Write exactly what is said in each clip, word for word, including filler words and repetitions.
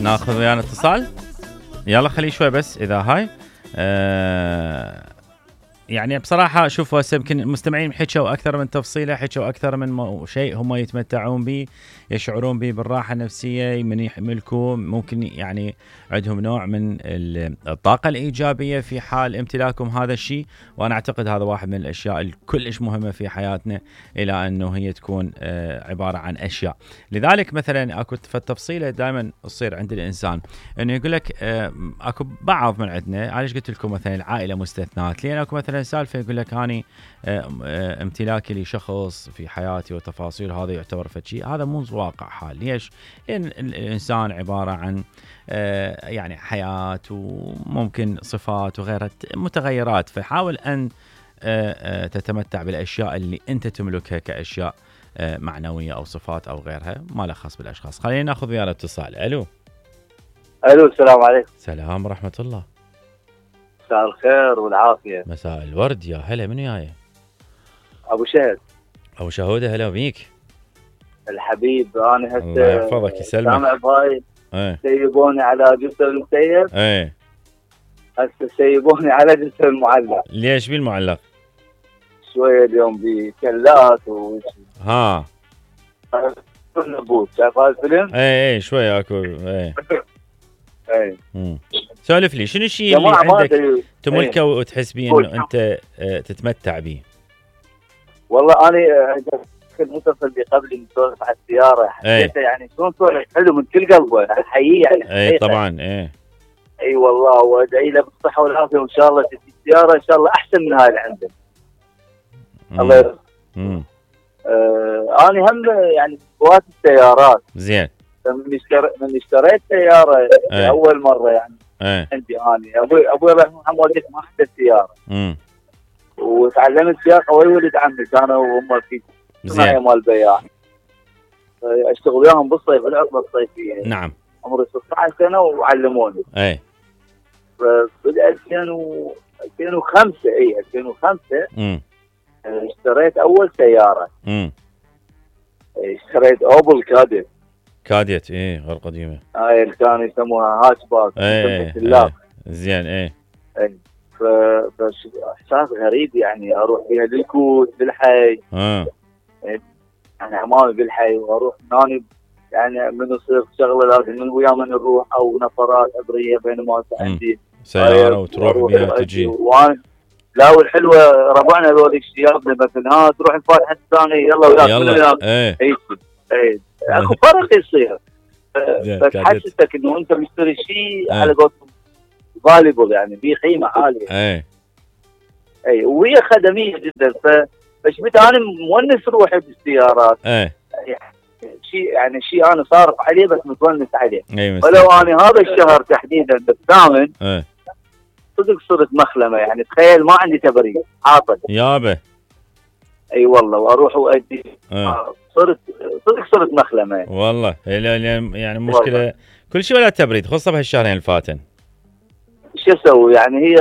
ناخذ ويانا اتصال. يلا خليه شوي بس اذا هاي أه يعني بصراحة شوفوا هسه يمكن المستمعين حكوا أكثر من تفصيلة، حكوا أكثر من شيء هم يتمتعون به، يشعرون به بالراحة النفسية من يحملكم، ممكن يعني عندهم نوع من الطاقة الإيجابية في حال امتلاكهم هذا الشيء. وأنا أعتقد هذا واحد من الأشياء الكلش مهمة في حياتنا، إلى أنه هي تكون عبارة عن أشياء. لذلك مثلا أكو التفصيلة دائما تصير عند الإنسان أنه يقول لك أكو بعض من عندنا، علاش قلت لكم مثلا العائلة مستثنات، لأن أكو مثلا سالفة يقول لك أني امتلاكي لشخص في حياتي وتفاصيل هذا يعتبر فشي، هذا مو واقع حال. ليش؟ لأن الإنسان عبارة عن يعني حياة وممكن صفات وغيرها متغيرات، فحاول أن تتمتع بالأشياء اللي أنت تملكها كأشياء معنوية أو صفات أو غيرها، ما له خاص بالأشخاص. خلينا نأخذ ويا الاتصال. ألو ألو السلام عليكم. سلام ورحمة الله. مساء الخير والعافية. مساء الورد، يا هلا. من وياي؟ أبو شهد. أبو شهودة، هلا بيك الحبيب. أنا هسه الله يحفظك يسلمك. سامع بهاي ايه سيبوني على جسر المسيب. ايه هسه سيبوني على جسر المعلق. ليش بالمعلق؟ شوية اليوم بكلات و ها نبوت. شايف هذا الفيلم؟ ايه ايه شوية اكو ايه ايه امم سولف لي شنو الشيء اللي عندك تملكه ايه. وتحس بيه انه انت اه تتمتع به؟ والله انا كنت متصل بي قبل نسولف على السيارة، حسيته يعني شلون سولف حلو من كل قلبه، احييه يعني. اي طبعا ايه اي والله، وادعي له بالصحة والعافية، وان شاء الله تجي السيارة ان شاء الله احسن من هاي اللي عنده. الله يرضى. امم آه انا هم يعني هواة السيارات. زين. من اشتريت من اشتريت سيارة ايه. اول مرة يعني ايه. عندي انا ابوي ابوي الله يرحمه والدتي ما عنده سيارة. امم وتعلمت سياقة ويا ولد عمي، كانوا هم في صناعة مال بياع، اشتغل وياهم بالصيف العطلة الصيفية. نعم. عمري ستة عشر سنة وعلموني. اي. فبدأ ألفين وخمسة اي ألفين وخمسة امم اشتريت اول سيارة. امم اشتريت اوبل كاديت. كاديت ايه غير قديمة. هاي اللي كانوا يسموها هاتش باك. ايه ايه زين. ايه ايه فبس احساس غريب يعني، اروح بها للكوت بالحي. اه يعني عمامي بالحي، واروح هناني يعني من يصير شغله لازم من ويا من نروح او نفرات ابريه بينما عندي سياره وتروح بها تجي. وانا لا والحلوه ربعنا ذول الشيابنا مثلا، ها تروح الفاتحه الثانيه يلا وياك يلا ايه اي اي اكو فرق يصير. بس حسستك انه انت مشتري شيء على قولتهم فاليبل، يعني في قيمه عاليه. اي اي وهي خدميه جدا. فشبت انا مونس روحي بالسيارات. اي شيء يعني شيء انا صارف عليه بس متونس عليه. اي ولو انا هذا الشهر تحديدا بالثامن اي صدق صرت مخلمه، يعني تخيل ما عندي تبريد عاطل يابا. اي والله، واروح وادي صرت صدق صرت مخلمه والله. يعني مشكله والله. كل شيء ولا تبريد، خصوصا بهالشهرين الفاتن. شو اسوي يعني؟ هي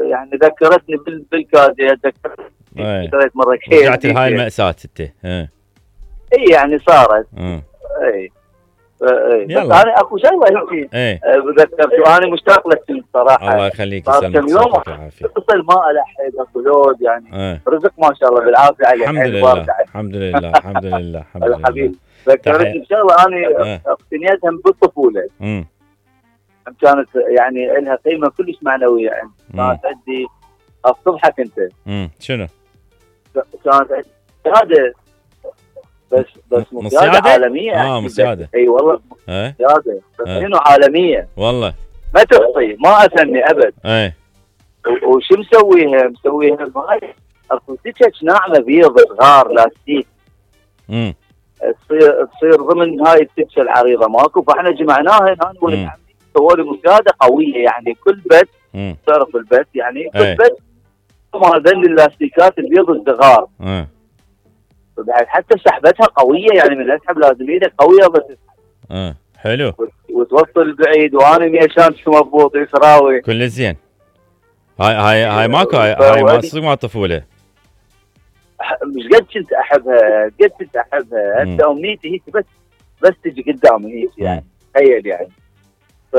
يعني ذكرتني بالكادي، ذكرتني اشتريت مره كيف رجعت لهاي المأساة انت. اه اي يعني صارت. اه اي اي بس انا اكو شغله هيك ذكرت انا مشتاق لك صراحه. الله يخليك يسلمك صحتك والعافيه. اتصل ما الحق اكو لود يعني. اه. رزق ما شاء الله بالعافيه عليك. الحمد لله الحمد لله الحمد لله الحمد لله. الحبيب ذكرتني بشغله انا اقتنيتها بالطفوله. امم كانت يعني لها قيمه كلش معنويه عندي. كانت عندي الصبحك انت. امم شنو؟ كانت عندي سياده، بس بس مسيادة عالميه. اه مسيادة. اي والله مسيادة بس شنو عالميه والله ما تخطي، ما اثني ابد. اي وشو مسويها؟ مسويها هاي اكو سكك ناعمه بيض صغار لاستيك. امم تصير تصير ضمن هاي السكه العريضه ماكو، فاحنا جمعناها انا ولد عمي سووا لي مسياده قويه، يعني كل بيت تعرف البيت يعني كل ايه. بيت ما هذول اللاستيكات البيض الصغار. اه بعد حتى سحبتها قويه، يعني من الاسحب لازم ايدك قويه بس. اه حلو. وتوصل بعيد، وانا ميشان مضبوط يسراوي كل زين. هاي هاي هاي ماكو هاي, هاي ما تصير مع الطفوله. مش قد كنت احبها، قد كنت احبها. هسه امنيتي هيك بس بس تجي قدامي هيك يعني. تخيل يعني ف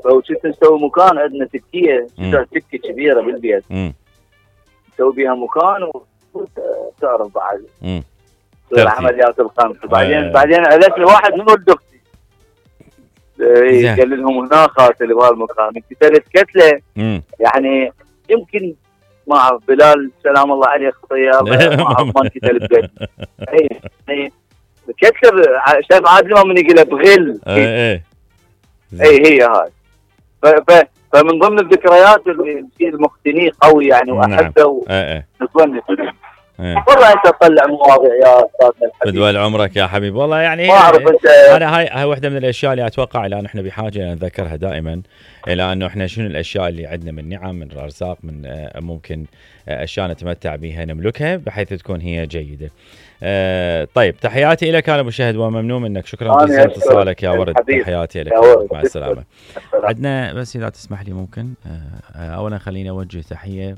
فكنت نسوي مكان عندنا تكيه تكه كبيره بالبيت نسوي بيها مكان وتعرف بعد العمليات الخمس. بعدين بعدين عرفت لي واحد من ولد اختي قال لهم هناك قاتل بهالمكان انقتلت قتله يعني يمكن ما اعرف بلال سلام الله عليه خطيه ما اعرف ما انقتل بقتل اي اي كتر شايف عادل ما من يقول بغل اي اي هي هاي. فمن ضمن الذكريات اللي المختني قوي يعني واحبه ونتونس والله انت تطلع مواضيع يا استاذنا الحبيب بدول عمرك يا حبيبي والله يعني ما اعرف انت انا هاي هاي واحده من الاشياء اللي اتوقع الان احنا بحاجه نذكرها دائما الى انه احنا شنو الاشياء اللي عندنا من نعم من ارزاق من ممكن اشياء نتمتع بها نملكها بحيث تكون هي جيده. أه طيب تحياتي لك انا مشاهد وممنون منك شكرا جزيلا اتصالك يا ورد تحياتي لك مع السلامه. عندنا بس اذا تسمح لي ممكن أه اولا خليني اوجه تحيه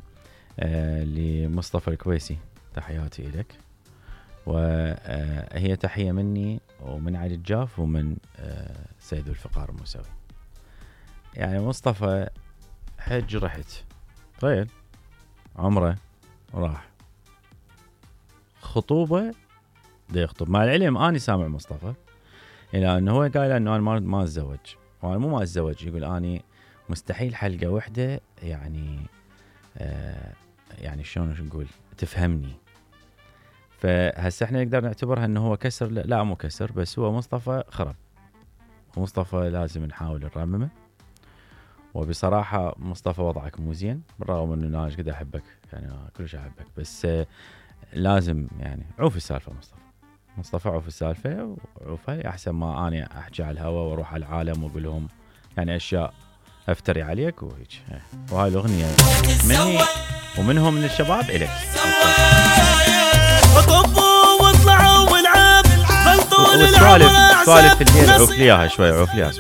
أه لمصطفى الكويسي تحياتي لك وهي تحيه مني ومن علي الجاف ومن أه سيد الفقار الموسوي. يعني مصطفى حج رحت طيب عمره راح خطوبه دا يخطب مع العلم اني سامع مصطفى الى انه هو قايل انه انا ما ما اتزوج وانا مو ما اتزوج يقول اني مستحيل حلقه وحده يعني آه يعني شلون نقول تفهمني. فهسه احنا نقدر نعتبرها انه هو كسر لا مو كسر بس هو مصطفى خرب ومصطفى لازم نحاول نرممه. وبصراحه مصطفى وضعك مو زين بالرغم انه انا قد احبك يعني كلش احبك بس لازم يعني عوف السالفه مصطفى مصطفى عوف السالفه وعوفها احسن ما اني احكي على الهواء واروح على العالم واقول لهم يعني اشياء افتري عليك وهيك. وهاي الاغنيه مني ومنهم من الشباب الك وطبوا واطلعوا والعاب غلطوا السوالف سوالف الليل عوف لي اياها شوي عوف لي